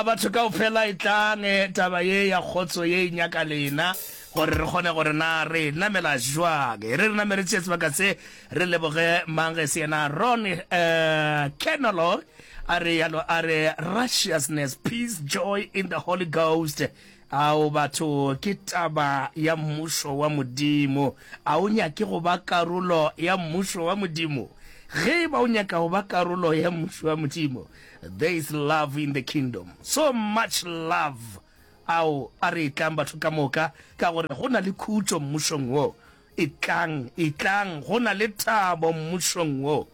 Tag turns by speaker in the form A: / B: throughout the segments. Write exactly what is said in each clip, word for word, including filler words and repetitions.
A: A batho kaofela etlang, taba ye ya kgotso ye e nyaka lena gore re kgone gore na re namela jwang. E re re name re tšee sebaka se re leboge mang ge se yena Ron uh, Kenolo a re yalo a re righteousness, peace, joy in the Holy Ghost. Ao batho ke taba ya mmušo wa Modimo. A o nyake go ba karolo ya mmušo wa Modimo? Ge e ba o nyaka go ba karolo ya mmušo wa Modimo, there is love in the kingdom. So much love. Ao, a re etlang batho ka moka, ka gore go na le khutšo mmušong wo. Etlang, etlang, go na le thabo mmušong wo.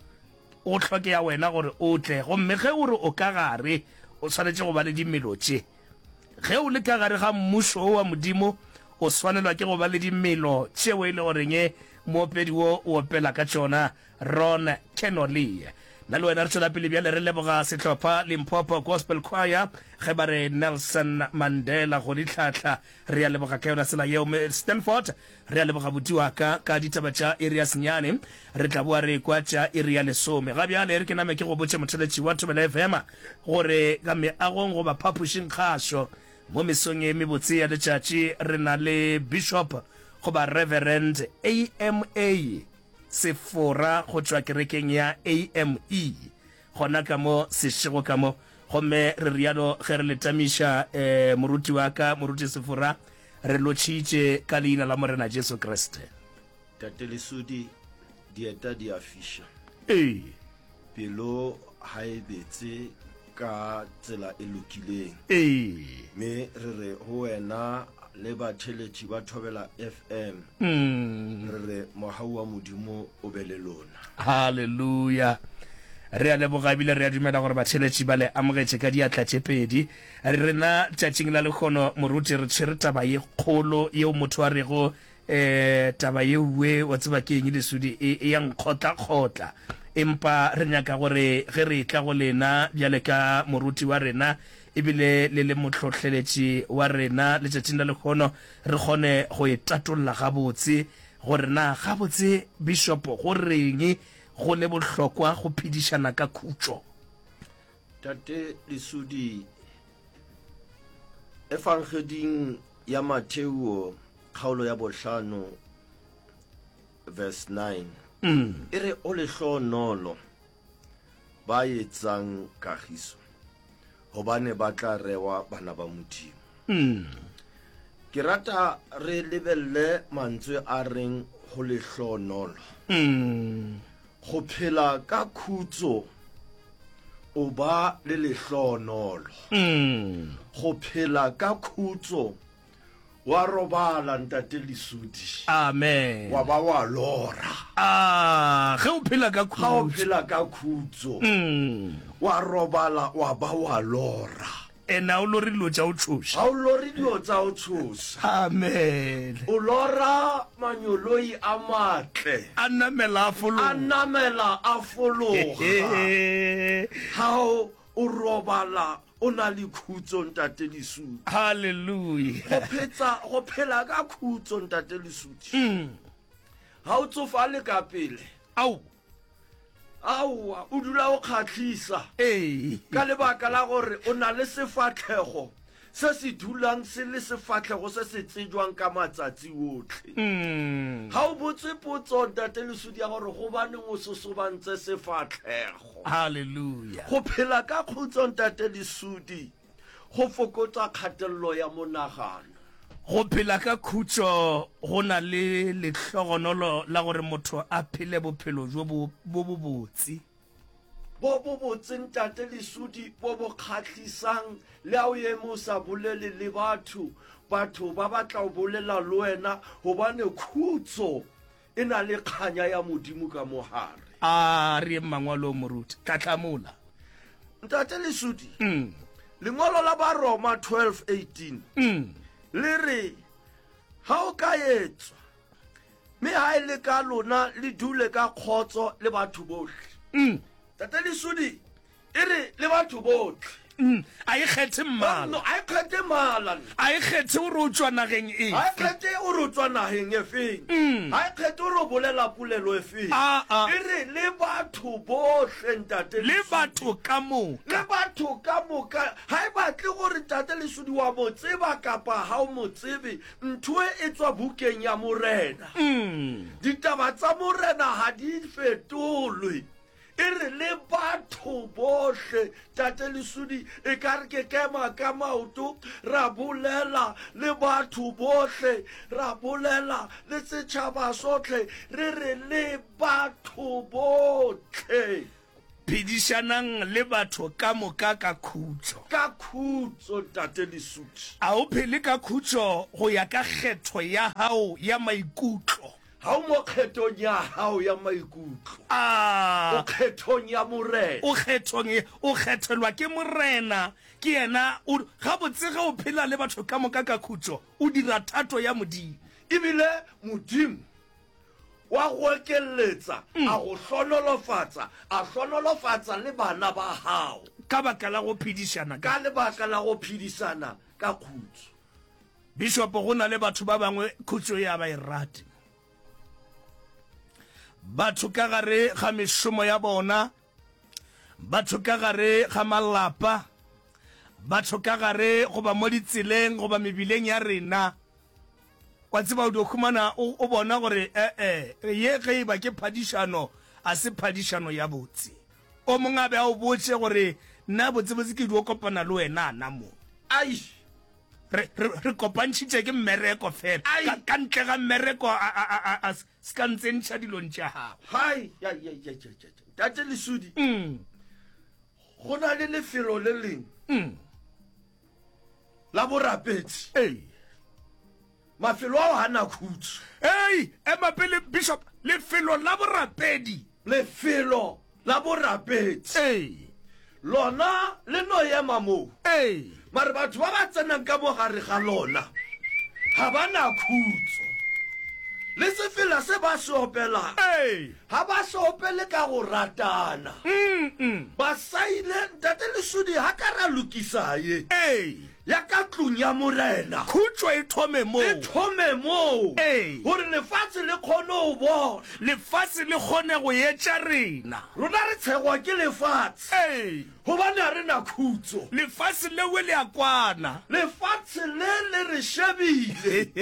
A: Go hlokega wena gore o tle. Gomme ge o re o ka gare, o swanetše go ba le dimelo tše. Ge o le ka gare ga mmušo wo wa Modimo, o swanelwa ke go ba le dimelo tšeo e le goreng moopedi wo o opela ka tšona, Ron Kenoly. Nna le wena re tšwela pele bjale re leboga sehlopha Limpopo Gospel Choir ge ba re Nelson Mandela go dihlahla. Re a leboga ka yona tsela yeo. Stanford, re a leboga buti wa ka ka ditaba tša iri ya senyane. Re tla boa re ekwa tša iri ya lesome. Ga bjale re ke name ke go botše motheletši wa Thobela F M gore ka meagong goba phapošing kgašo mo mesong e mebotse ya letšatši re na le Bishop goba Reverend A M A Sefora go tšwa kerekeng ya A M E gona ka mo sešego ka mo. Gomme re rialo ge re le tamiša eh, moruti wa ka moruti Sefora, re lotšhitše ka leina la Morena Jesu Kriste.
B: Tate Lesodi, dieta di a fiša.
A: Ee.
B: Pelo ha e betse ka tsela e lokileng.
A: Ee.
B: Me re re ho wena le batheletši ba Thobela F M.
A: Mm.
B: Re re mohau wa Modimo o be le lona.
A: Hallelujah. Re a leboga ebile re a dumela gore batheletši ba le amogetše ka diatla tše pedi. Rena tšatšing la lehono moruti re tshwere taba ye kgolo yeo motho a rego eh taba yeuwe wa tseba ke eng Lesodi e, e ya nkgotlakgotla. Empa re nyaka gore ge re etla go lena bjale ka moruti wa rena ebile le le mohlohleletši wa rena letšatšing la lehono re kgone go e tatolla gabotse gore na gabotse Bishop go reng go le bohlokwa go phedišana ka khutšo.
B: Tate Lesodi, Efangeding ya Mateo kgaolo ya bohlano verse nine
A: Mm.
B: e re o lehlohonolo ba etsang kagiso hobane ba tla rewa bana ba Modimo.
A: Mm.
B: Ke rata re lebelle mantswe a reng ho lehlohonolo.
A: Mm.
B: Go phela ka khutso o ba le lehlohonolo.
A: Mm.
B: Go phela ka khutso wa robala ntate Lesodi.
A: Amen.
B: Wa ba wa lora.
A: Ah, ge o phela ka
B: Ga o
A: khutso.
B: phela ka khutso.
A: Mm.
B: Wa robala wa ba wa lora.
A: Ene ha o lore dilo tša o tshoša.
B: Ha o lore dilo tša o tshoša.
A: Amen.
B: O lora manyoloi a matle.
A: A namela a fologa.
B: A namela a fologa. Ha o robala o na le khutso ntate Lesodi.
A: Hallelujah.
B: Go phetsa go phela ka khutso ntate Lesodi.
A: Mm.
B: Ha o tsofale ka pele.
A: Au.
B: Aowa, o dula o kgahlisa.
A: Ee.
B: Ka lebaka la gore o na le sefahlego se se dulang se le sefahlego se se tsejwang ka matsatsi otlhe.
A: Mm.
B: Ha o botse potso ntate Lesodi ya gore gobaneng o sosobantse sefahlego.
A: Hallelujah.
B: Go phela ka khutso ntate Lesodi go fokotsa kgatello ya monagano.
A: Go phela ka khutšo go na le lehlogonolo la gore motho a phele bophelo bjo bo bobotse.
B: Bo bobotse ntate Lesodi bo bo kgahlisang le a o eme o sa bolele le batho, batho ba batla go bolela le wena gobane khutso e na le kganya ya Modimo ka mogare.
A: A re yeng mangwalong moruti, tlatlamola.
B: Ntate Lesodi,
A: Mm.
B: lengwalo la Baroma twelve eighteen
A: Mm.
B: le re ha o ka etswa mme ha e le ka lona le dule ka kgotso le batho bohle.
A: Mm.
B: Tate Lesodi e re le batho bohle.
A: Mm. A e kgethe mmala.
B: No, a e kgethe mmala.
A: A e kgethe gore o tšwa nageng efe.
B: A e kgethe gore o tšwa nageng e feng.
A: Mm.
B: A e kgethe gore o bolela polelo e feng.
A: Ah, ah.
B: E re le batho bohle ntate
A: Le
B: Lesodi.
A: batho ka moka.
B: Le batho ka moka. Ha e batle gore Ntate Lesodi, wa mo tseba kapa ha o mo tsebe, ntho e e tswa bukeng ya Morena. Ditaba tsa Morena ha di fetolwe. E re le batho bohle, Tate Lesodi, e ka re ke kema ka maoto, ra bolela le batho bohle, ra bolela le setšhaba sohle, re re le batho bohle.
A: Phedišanang le batho ka moka ka khutšo.
B: Ka khutšo, Ntate Lesodi.
A: A o phele ka khutšo go ya ka kgetho ya gago ya maikutlo?
B: Ga o mo kgethong ya gago ya maikutlo.
A: A
B: O kgethong ya Morena.
A: O kgethong, o kgethelwa ke Morena. Ke yena o, gabotse ge o phela le batho ka moka ka khutšo, o dira thato ya Modimo.
B: Ebile Modimo wa go okeletsa, a go hlonolofatsa, a hlonolofatsa le bana ba gago.
A: Ka baka la go phedišana
B: ka. Ka lebaka la go phedišana ka khutšo.
A: Bishopo, go na le batho ba bangwe khutšo ya ba e rate. Batho ka gare ga mešomo ya bona, batho ka gare ga malapa, batho ka gare goba mo ditseleng goba mebileng ya rena, wa tseba o dio humana o, o bona gore ee, ye ge e ba ke phadišano, a se phadišano ya botse. O mongwe a be a o botše gore nna botsebotse ke dio kopana le wena na mo.
B: Ai.
A: Re, re, re kopantšhitše ke mmereko fela.
B: Ai.
A: Ka, ka ntle ga mmereko a, a, a, a, a se ka ntsentšha dilong tša gago.
B: Hai, ya, ya, ya, ya, ya, ya. Tate Lesodi,
A: Mm.
B: go na le lefelo le leng
A: Mm.
B: la borapedi.
A: Ei.
B: Mafelo ao ga na khutšo.
A: Ei, ema pele Bishop, lefelo la borapedi.
B: Lefelo la borapedi.
A: Ei.
B: Lona le no ema moo.
A: Ei.
B: Mare batho ba ba tsenang ka mo gare ga lona ga ba na khutšo. Le sefela se ba se opelang
A: Ei.
B: ga ba se opele ka go ratana.
A: Mm -mm.
B: Ba saile Ntate Lesodi ga ka ra lokisa ye.
A: Ei.
B: Ya ka tlung ya Morena.
A: Khutšo e thome moo.
B: E thome moo.
A: Ei.
B: Gore lefatshe le kgone go bona.
A: Lefatshe le kgone go etša rena.
B: Rona re tshegwa ke lefatshe.
A: Ei.
B: Gobane ga re na khutšo.
A: Lefatshe lewe le a kwana.
B: Lefatshe le le re shebile.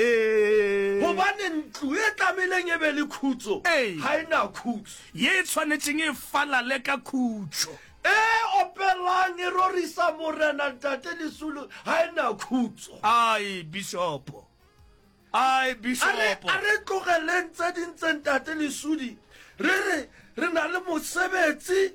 B: Gobane ntlo e tlameileng e be le khutšo
A: Ei.
B: ga e na khutšo.
A: Ye e tshwanetšeng e falale ka khutšo.
B: E opelang e rorisa Morena, Ntate Lesolo, ga e na khutšo.
A: Ai, Bishopo. Ai,
B: A re,
A: Bishopo.
B: a re tlogeleng tse ding tse, Ntate Lesodi, re re re na le mosebetsi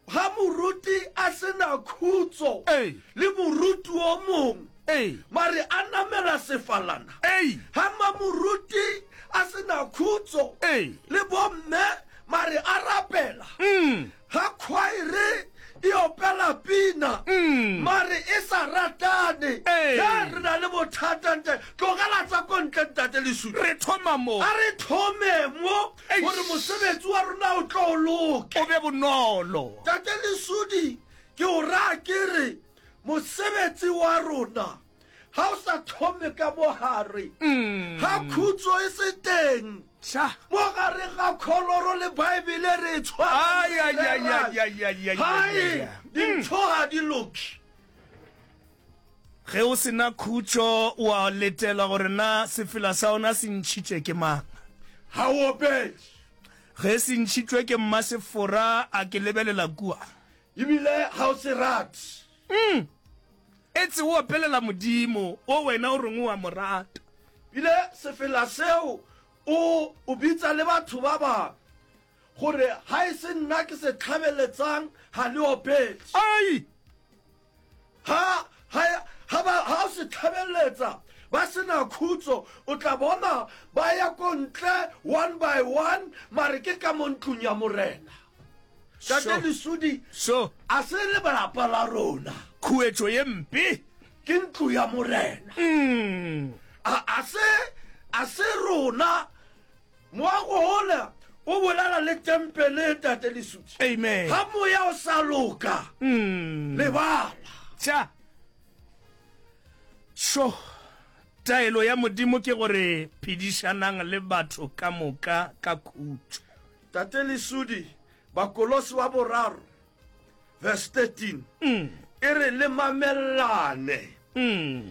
B: ga moruti a se na khutšo
A: Ei.
B: le moruti o mongwe.
A: Ei.
B: Mare a namela sefalana.
A: Ei.
B: Ga mamoruti a se na khutšo
A: Ei.
B: le bomme mare a rapela.
A: Mm.
B: Ga khwaere e opela pina
A: Mm.
B: mare e sa ratane.
A: Ei.
B: Ge re na le bothata nte, tlogela tsa ko ntle, Ntate Lesodi.
A: Re thoma mo.
B: A re thome mo
A: Eish.
B: gore mosebetsi wa rona o tlo o loke.
A: O be bonolo.
B: Tate Lesodi, ke o raya ke re mosebetsi wa rona ga o sa thome ka mogare,
A: Mm.
B: ga khutšo e se teng
A: Tša.
B: mo gare ga kholoro le Baebele re e
A: Ai, ai, ai, ai, ai, ai, ai, ai,
B: tshwara,
A: ai.
B: dintho ga di loke.
A: Ge o sena khutšo o a letela gore na sefela sa ona se ntšhitše ke mang.
B: Ga o opele.
A: Ge se ntšhitšwe ke mmasefora a ke lebelela kua.
B: Ebile ga o se rate.
A: Mm. Etse o opelela Modimo o wena o reng o a mo rata.
B: Ebile sefela seo o o bitsa le batho ba bangwe gore ga e se nna ke se tlhabeletsang ga le opele.
A: Ai.
B: Ha ha ha ba ha o se tlhabeletsa ba sena khutso, o tla bona ba ya ko ntle one by one, mare ke ka mo ntlong ya Morena. Tate
A: Sure.
B: Lesodi,
A: So
B: a se le lapa la rona.
A: Khuetšo ye mpe
B: ke ntlo ya Morena.
A: Mm.
B: A a se a se rona moago ola o bolela le tempele, Tate Lesodi.
A: Amen.
B: Ga moya o sa loka,
A: Mm.
B: lebala.
A: Tša. So taelo ya Modimo ke gore phedišanang le batho ka moka ka khutšo.
B: Tate Lesodi, Bakolosi wa boraro verse thirteen
A: Mm.
B: e re le mamellane.
A: Mm.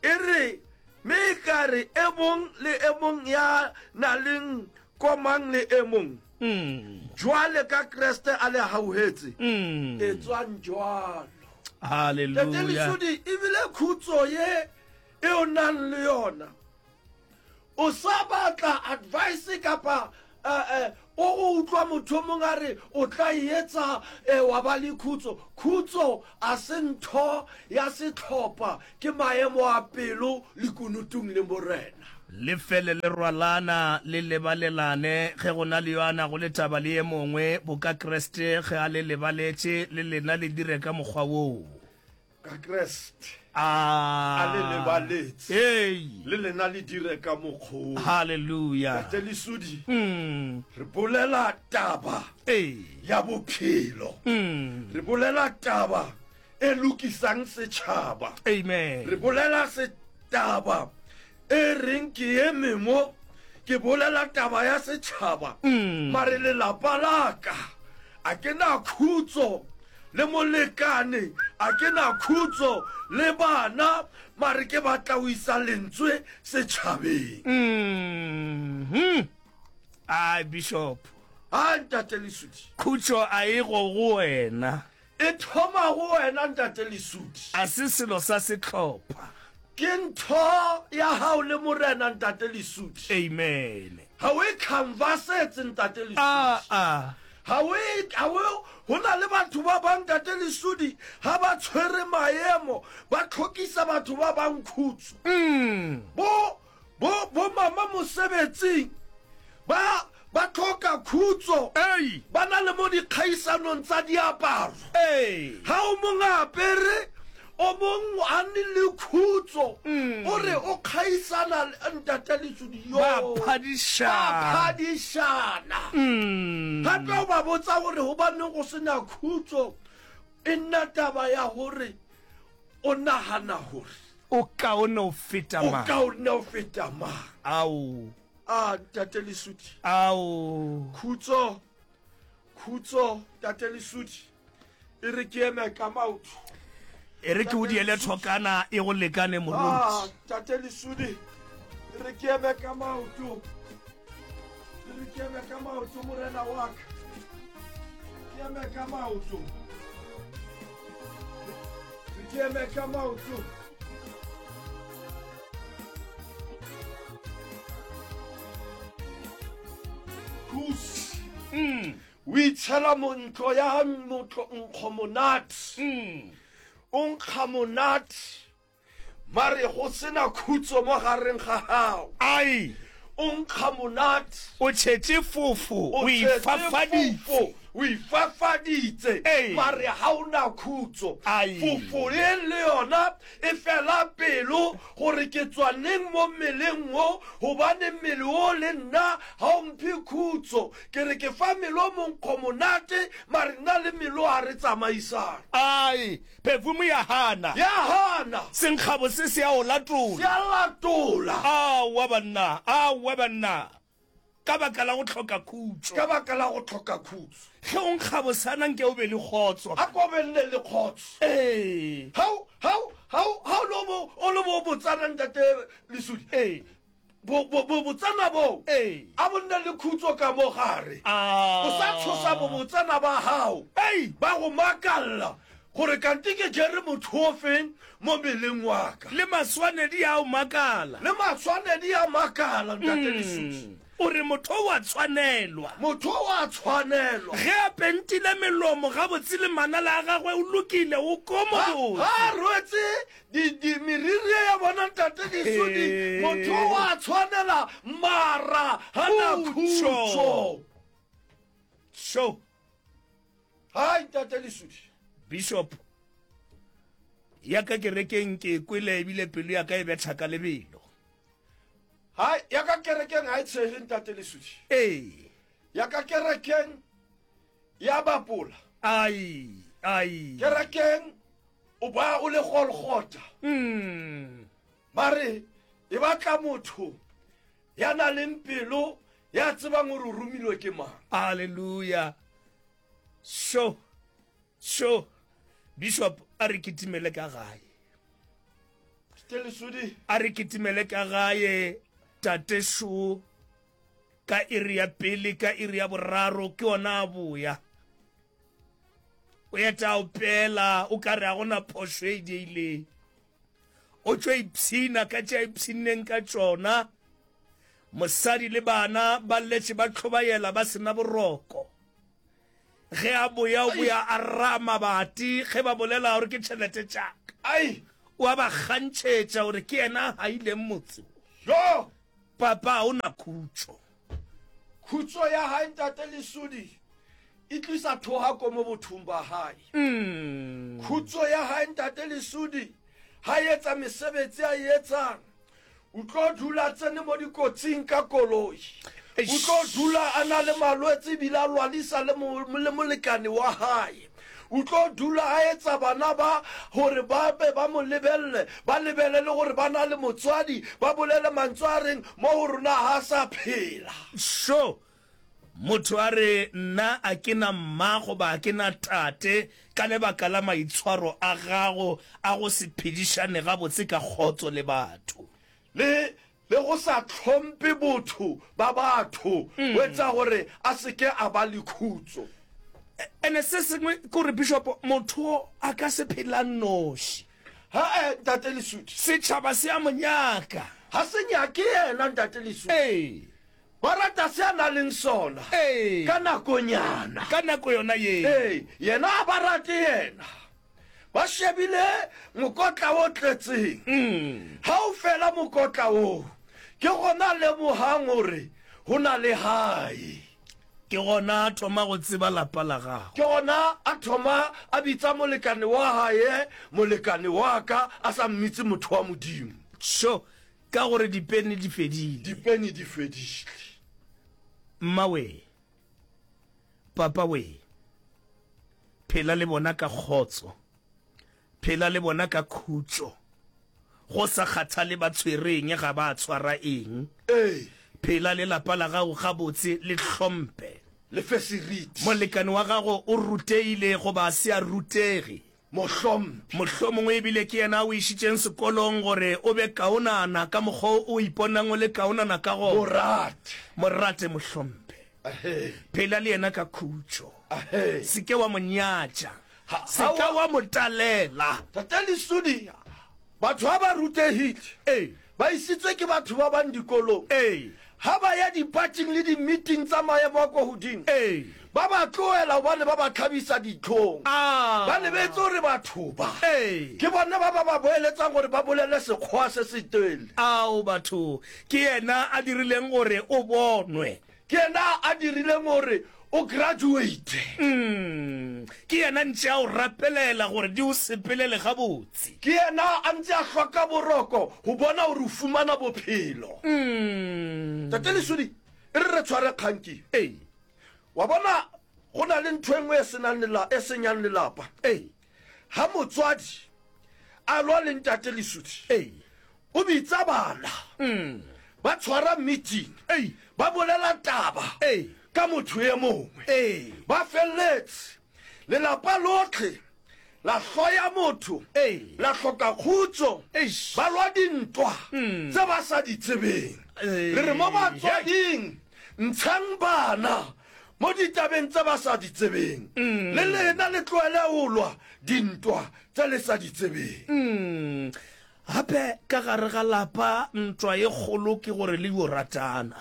B: E re, Me e ka re e mong le e mong ya na leng komang le e mong,
A: Mm.
B: jwale ka Kreste a le hauhetse,
A: Mm.
B: etswang jwalo. Tate
A: Hallelujah.
B: Lesodi, ebile khutso ye e o nang le yona, o sa batla advice kapa eh, eh, o go utlwa motho o mongwe a re o tla e etsa eh, wa ba le khutso. Khutso a se ntho ya setlhopha, ke maemo a pelo le kunutung le Morena.
A: Le fele le rwalana le lebalelane ge go na le yo a nago le taba le ye mongwe, boka Kriste ge a le lebaletše, le lena le dire ka mokgwa woo.
B: Ka Kriste
A: A
B: a le lebaletse,
A: Ei.
B: le lena le dire ka mokgwa woo.
A: Hallelujah.
B: Tate Lesodi,
A: Mm.
B: re bolela taba
A: Ei.
B: ya bophelo.
A: Mm.
B: Re bolela taba e lokisang setšhaba.
A: Amen.
B: Re bolela setaba e reng ke eme mo, ke bolela taba ya setšhaba.
A: Mm.
B: Mare lelapa la ka a ke na khutso le molekane, a ke na khutso le bana, mare ke batla ho isa lentswe setjhabeng.
A: Mm. Ai, Bishop.
B: A ntate Lesodi.
A: Khutso a e go go wena.
B: E thoma go wena ntate Lesodi.
A: A se selo sa setlhopha.
B: Ke ntho ya hao le Morena ntate Lesodi.
A: Amen.
B: Ha o e canvasetse ntate Lesodi.
A: Ah, ah.
B: Ha o e, ha o, ho na le batho ba bang ntate Lesodi ha ba tshwere maemo, ba tlhokisa batho ba bang khutso.
A: Mm.
B: Bo, bo, bo mama mosebetsing ba, ba tlhoka khutso.
A: Ei.
B: Ba na le mo dikgaisanong tsa diaparo.
A: Ei.
B: Ha o mong a apere, o mong a nne le khutso.
A: Mm.
B: O re o kgaisana le ntate Lesodi yo.
A: Ba phadišana.
B: Ba phadišana.
A: Mm.
B: Gape o ba botsa gore hobaneng go sena khutso, e nna taba ya gore o nagana gore
A: o kaone o feta
B: o
A: mang.
B: kaone o feta mang.
A: Ao.
B: A ntate Lesodi.
A: Ao.
B: Khutso, khutso ntate Lesodi, e re ke eme ka maoto.
A: E re ke o diele thokana e go lekane moruti.
B: Ah, ntate Lesodi, e re ke eme ka maoto. E re ke eme ka maoto morena wa ka. Ke eme ka maoto. Re ke eme ka maoto. Kus.
A: Mm.
B: O itshela mo ntlo ya motho nkgo monate.
A: Mm.
B: O nkga monate. Mare go sena khutso mo gareng ga gago.
A: Ai.
B: O nkga monate.
A: O tšhetše fofo,
B: O
A: o
B: tšhetše
A: ifafaditse.
B: fofo, o ifafaditse.
A: Ei.
B: Mare ha o na khutso.
A: Ai.
B: Fofo e le yona e fela pelo gore ke tswa neng mo mmeleng wo, gobane mmele wo le nna ha o mphe khutso. Ke re ke fa mmele o monkgo monate, mare nna le mmele o ha re tsamaisane.
A: Ai, perfume ya hana.
B: Ya hana.
A: Senkgabo se se a o latola.
B: Se a latola.
A: Aowa banna, aowa banna. Ka baka la go tlhoka khutso.
B: Ka baka la go tlhoka khutso.
A: Ge o nkga bosana nke o be le kgotso.
B: A ko be nne le kgotso.
A: Ee.
B: Ha o, ha o, ha o, ha o le bo, o le bo botsana ntate Lesodi.
A: Ee.
B: Bo, bo, bo botsana bo.
A: Ee.
B: A bo nne le khutso ka mo gare.
A: Ah.
B: O sa tshosa bo botsana ba hao.
A: Ei.
B: Ba go makalla gore kante ke jere motho o feng mo mmeleng wa ka.
A: Le maswanedi a o makala.
B: Le maswanedi a makala ntate Lesodi.
A: O re motho wa tshwanelwa.
B: Motho wa tshwanelwa.
A: Ge a pentile melomo gabotse le manala a gagwe o lokile, o komobotse.
B: Ha rwetse di, di meriri ya bona ntate Lesodi,
A: Ee.
B: motho wa tshwanela mara ha na
A: Khutso.
B: khutso.
A: So,
B: Hai ntate Lesodi.
A: Bishop, ya ka kerekeng ke kwele ebile pelo ya ka e betha ka lebelo.
B: Hai, ya ka kerekeng ha e tshehe ntate Lesodi.
A: Ee.
B: Ya ka kerekeng ya bapola.
A: Ai, ai.
B: Kerekeng o ba o le Golgotha.
A: Mm.
B: Mare e batla motho ya nang le pelo ya tsebang hore o romilwe ke mang.
A: Hallelujah. So, so, Bishop a re kitimele ka gae.
B: Telesudi.
A: A re kitimele ka gae, tate šo, ka iri ya pele, ka iri ya boraro, ke ona a boya. O eta a opela, o ka re a gona phošo e diileng. O tšo ipshina ka tše a ipshinneng ka tšona. Mosadi le bana ba letše ba hlobaela ba se na boroko. Ge a boya o boya a ra mabati ge ba bolela gore ke tšhelete tša ka.
B: Ai!
A: O a ba kgantšhetša gore ke yena a haileng motse wo.
B: Jo!
A: Papa ga o na khutšo.
B: Khutšo ya hae Ntate Lesodi e tlisa thohako mo bothong ba hae. Khutšo ya hae Ntate Lesodi ha etsa mesebetsi a e etsang, o tlo dula tsene mo dikotsing ka koloi. O tlo dula a na le malwetse ebile a lwalisa le, le molekane wa hae. O tlo dula a etsa bana ba gore ba be ba mo lebelele, ba lebelele gore ba na le motswadi, ba bolele mantswe a reng mo go rona ga a sa phela.
A: Sho! Motho a re, Nna a ke na mma goba a ke na tate ka lebaka la maitshwaro a gago a go se phedišane gabotse ka kgotso le batho.
B: Le, le go sa hlompe botho ba batho, go etsa gore a se ke a ba le khutso.
A: Ene se sengwe ke gore, Bishop, motho a ka se phela nnoši.
B: Ha-e, Ntate Lesudi.
A: Setšhaba se a mo nyaka.
B: Ga se nyake yena, Ntate Lesudi.
A: Ee.
B: Ba rata se a na leng sona.
A: Ee.
B: Ka nakonyana.
A: Ka nako yona ye.
B: Ee, yena a ba rate yena. Ba shebile mokotla o tletseng.
A: Mm.
B: Ha o fela mokotla woo, ke gona a lemogang gore go na le hae.
A: Ke gona a thoma go tseba lapa la gagwe.
B: Ke gona a thoma a bitsa molekane wa hae molekane wa ka, a sa mmitse motho wa Modimo.
A: Sho, ka gore dipeni di fedile.
B: Dipeni di fedile.
A: Mma wee, papa wee, phela le bona ka kgotso, phela le bona ka khutšo, go sa kgathale ba tshwere eng, ga ba tshwara eng.
B: Ee.
A: Phela le lapa la gago gabotse, le hlompe.
B: Le fe seriti.
A: Molekane wa gago o rutegile goba a se a rutege.
B: Mo hlompe.
A: Mohlomongwe e bile ke yena a o išitšeng sekolong gore o be kaonana ka mokgwa o o iponang o le kaonana ka gona.
B: Mo rate.
A: Mo rate, mo hlompe.
B: Ahee.
A: Phela le yena ka khutšo.
B: Ahee.
A: Se ke wa mo nyatša.
B: Ha,
A: Se ka wa mo talela.
B: Tate Lesodi, batho ha ba rutegile,
A: Ee.
B: ba isitswe ke batho ba bang dikolong.
A: Ee.
B: Ha ba ya dipating le di-meeting tsa maemo a kwa godimo,
A: Ee.
B: ba ba tlohela gobane ba ba hlabisa dihlong.
A: Ah.
B: Ba lebetse gore batho ba
A: Ee.
B: ke bona ba ba ba boeletsang gore ba bolele Sekgowa se setele.
A: Ao, batho, ke yena a dirileng gore o bonwe.
B: Ke yena a dirileng gore o graduate.
A: Mm. Ke yena ntše a o rapelela gore di o sepelele gabotse.
B: Ke yena a ntše a hloka boroko go bona gore o fumana bophelo.
A: Mm.
B: Tate Lesodi, e re re tshware kgang ke.
A: Ee.
B: Wa bona, go na le ntho e nngwe e senang lela, e senyang lelapa.
A: Ee.
B: Ha motswadi a lwa le ntate Lesodi,
A: Ee.
B: o bitsa bana,
A: Mm.
B: ba tshwara meeting,
A: Ee.
B: ba bolela taba
A: Ee.
B: ka motho e mongwe.
A: Ee.
B: Ba felletse lelapa lotlhe la hloya motho,
A: Ee.
B: la hloka khutso,
A: Eish.
B: ba lwa dintwa tse ba sa di tsebeng.
A: Ee.
B: Re re mo batswading, ntshang bana mo ditabeng tse ba sa di tsebeng, le lena le tlohele go lwa dintwa tse le sa di tsebeng.
A: Mm. Gape ka gare ga lapa ntwa e kgolo ke gore le yo ratana.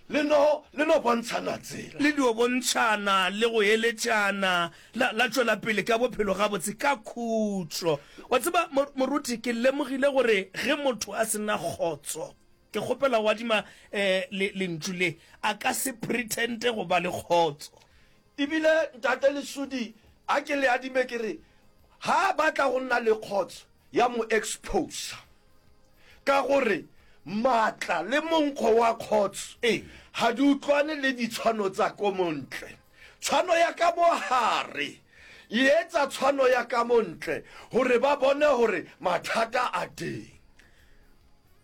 B: Le no, le no bontshana tsela.
A: Le dio bontšhana le go eletšana, la, la tšwela pele ka bophelo gabotse ka khutšo. Wa tseba, moruti, ke lemogile gore ge motho a se na kgotso, ke kgopela go adima eh, le, lentšu le, a ka se pretende go ba le kgotso.
B: Ebile, Ntate Lesodi, a ke le adime ke re, ga a batla go nna le kgotso, ya mo exposa. Ka gore maatla le monkgo wa kgotso
A: Ee.
B: ga di utlwane le ditshwano tsa ko montle. Tshwano ya ka mo gare e etsa tshwano ya ka mo ntle gore ba bone gore mathata a teng.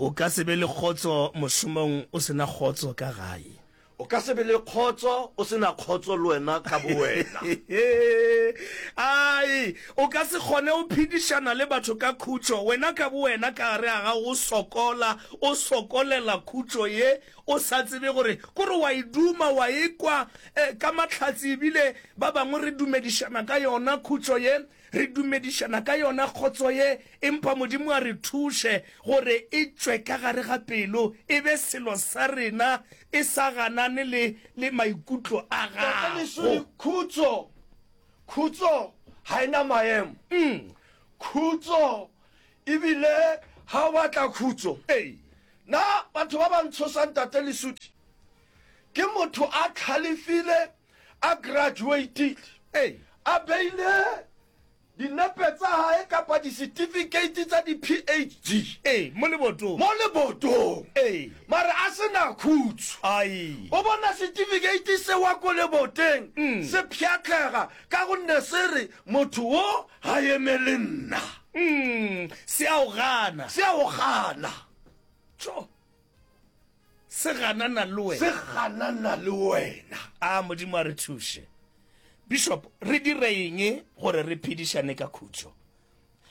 A: O ka se be le kgotso mošomong o se na kgotso ka gae.
B: O ka se be le kgotso o se na kgotso le wena ka bowena.
A: Ai, o ka se kgone go phedišana le batho ka khutšo, wena ka bowena ka gare ga gago o sokola, o sokolela khutšo ye, o sa tsebe gore, kore wa e duma, wa e kwa eh, ka mahlatse, ebile ba bangwe re dumedišana ka yona khutšo ye, re dumedišana ka yona kgotso ye, empa Modimo a re thuše gore e tšwe ka gare ga pelo, e be selo sa rena, e sa ganane le, le maikutlo a
B: Tate Lesodi,
A: gago.
B: khutso, khutso ga e na maemo. Khutso, ebile ga o batla khutso.
A: Ee.
B: Na batho ba ba ntshosang Tate Lesodi, ke motho a tlhalefile, a graduatile,
A: Ee.
B: a beile dinepe tsa hae kapa di-certificate tsa di-P H D
A: Ee, mo lebotong.
B: mo lebotong.
A: Ee.
B: Mare a se na khutso.
A: Ai.
B: O bona certificate se wa ko leboteng se pšhatlega ka gonne se re motho wo ga eme le nna.
A: Mm, se a o gana.
B: Se a o gana.
A: Tšo. Se ganana le wena.
B: Se ganana le wena.
A: A Modimo a re thuše. Bishop, re dire eng gore re phedišane ka khutšo?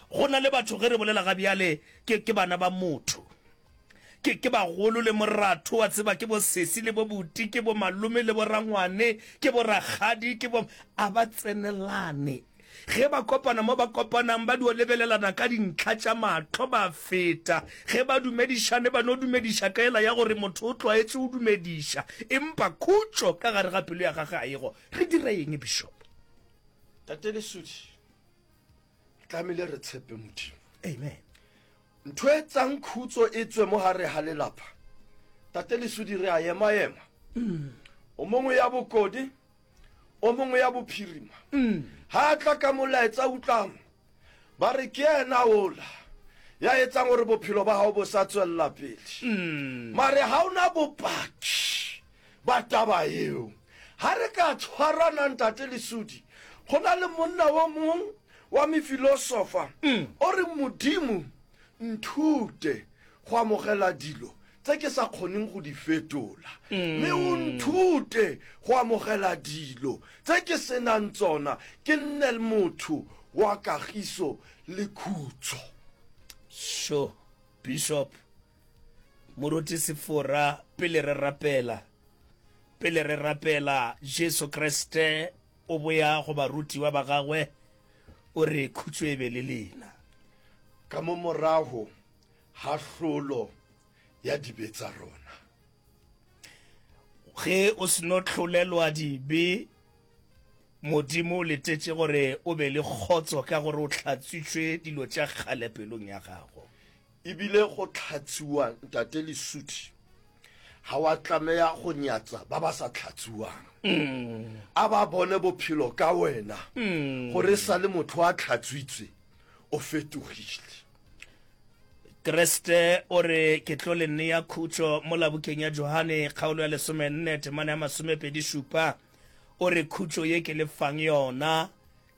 A: Go na le batho ge re bolela ga bjale ke, ke bana ba motho. Ke, ke bagolo le moratho, wa tseba, ke bo sesi le bo buti, ke bo malome le bo rangwane, ke bo rakgadi, ke bo, a ba tsenelane. Ge ba kopana mo ba kopanang, ba dio lebelelana ka dintlha tša mahlo, ba feta. Ge ba dumedišane, ba no dumediša ka ela ya gore motho o tlwaetše go dumediša, empa khutšo ka gare ga pelo ya gagwe ga e go. Re dire eng, Bishop?
B: Tate Lesodi, re tlamehile re tshepe Modimo.
A: Amen.
B: Ntho e tsang khutso e tswe mo gare ga lelapa. Tate Lesodi, re a ema-ema. O mongwe ya bokodi, o mongwe ya bophirima. Ha a tla ka molaetsa utlwang, ba re ke yena ola ya etsang gore bophelo ba gago bo sa tswelela pele. Mare ha ona bopaki ba taba eo. Ha re ka tshwarana Ntate Lesodi, go na le monna o mong wa mefilosofa o re Modimo nthute go amogela dilo tse ke sa kgoneng go di fetola, mme o nthute go amogela dilo tse ke senang tsona, ke nne motho wa kagiso le khutso.
A: Sho, Bishop Moruti Sefora, pele re rapela, pele re rapela, Jesu Kriste o boya go barutiwa ba gagwe, o re khutšo e be le lena.
B: Ka mo morago ga hlolo ya dibe tsa rona.
A: Ge o seno hlolelwa dibe, Modimo o letetše gore o be le kgotso ka gore o hlatswitšwe dilo tša kgale pelong ya gago.
B: Ebile go hlatswiwa Ntate Lesodi, ga wa tlameya go nyatsa ba ba sa hlatswiwang. A ba bone bophelo ka wena, gore sa le motho a hlatswitswe, o fetogile.
A: Kriste o re ke tlo le nea khutšo mo labukeng ya Johane kgaolo ya lesomenne temana ya masomepedi šupa. O re khutšo ye ke le fang yona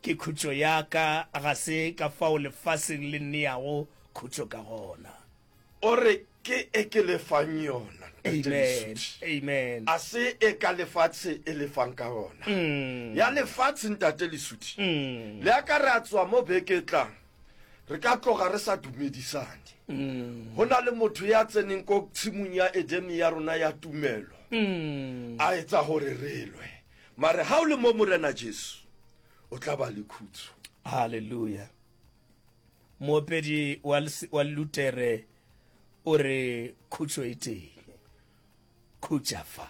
A: ke khutšo ya ka, ga se ka fao lefaseng le neago khutšo ka gona.
B: O re ke e ke le fang yona, Ntate
A: Amen.
B: Lesodi.
A: Amen.
B: A se e ka lefatshe e le fang ka gona. Ya lefatshe Ntate Lesodi. Le a ka re a tswa mo beke tlang, re ka tloga re sa dumedisane. Go na le motho ya tseneng ko tshimong ya Edene ya rona ya tumelo, a etsa gore re lwe. Mare ha o le mo Morena Jesu, o tla ba le khutso.
A: Hallelujah. Moopedi wa wa Lutere o re khutšo e teng. Khutša fa.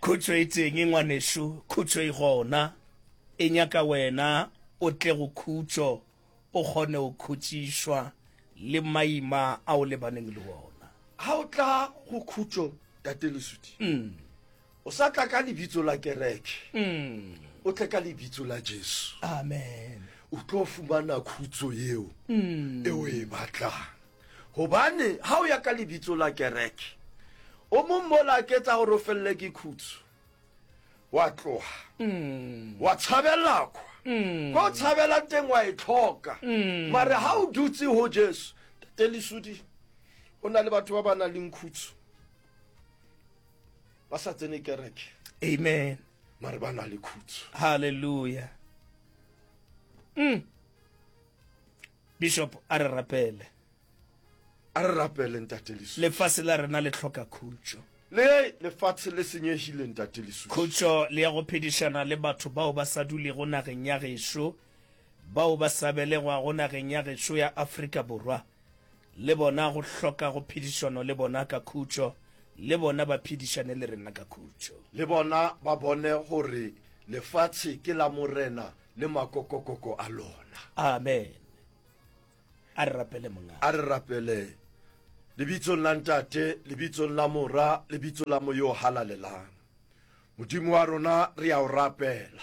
A: Khutšo e teng ngwanešu, khutšo e gona. E nyaka wena o tle go khutšo, o kgone go khutšišwa le maima a o lebaneng le wona.
B: Ha o tla go khutšo Tate Lesodi, o sa tla ka lebitso la kereke, o tle ka lebitso la Jesu.
A: Amen.
B: O tlo fumana khutso yeo e o e batlang. Hobane ha o ya ka lebitso la kereke, o mong mola a ketsa gore o felle ke khutso, wa tloga, wa tshabela kwa. Ko o tshabelang teng wa e tlhoka. Mare ha o dutse ho Jesu, Tate Lesodi, go na le batho ba ba nang le khutso. Ba sa tsene kereke.
A: Amen.
B: Mare ba na le khutso.
A: Hallelujah. Mm. Bishop, a re rapele.
B: A re rapele, Ntate Leswi.
A: Lefase la rena le hloka khutšo.
B: Le lefatshe le senyegile, Ntate Leswi.
A: Khutšo le ya go phedišana le batho bao ba sa dulego nageng ya gešo, bao ba sa belegwago nageng ya gešo ya Afrika Borwa, le bona go hloka go phedišano le bona ka khutšo, le bona ba phedišane le rena ka khutšo.
B: Le bona ba bone gore lefatshe ke la Morena le makokokoko a lona.
A: Amen. A re rapele Mongaka.
B: A re rapele Lebitsong la Ntate, Lebitsong la Mora, Lebitso la Moya o Halalelang. Modimo wa rona, re a o rapela.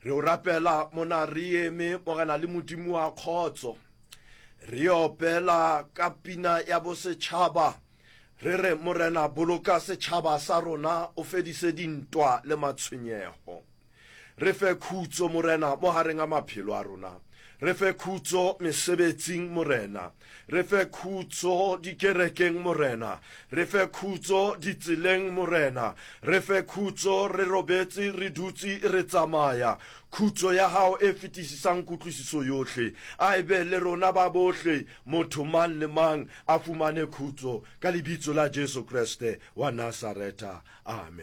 B: Re o rapela mona re eme, Morena le Modimo wa kgotso. Re opela ka pina ya bosetšhaba, re re, Morena, boloka setšhaba sa rona, o fedise dintwa le matshwenyego. Re fe khutso, Morena, mo gareng a maphelo a rona. Re fe khutso mesebetsing, Morena. Re fe khutso dikerekeng, Morena. Re fe khutso ditseleng, Morena. Re fe khutso re robetse, re dutse, re tsamaya. Khutso ya Gago e fetisisang kutlwisiso yohle, a e be le rona ba bohle, motho mang le mang a fumane khutso, ka Lebitso la Jesu Kriste wa Nasaretha. Amen.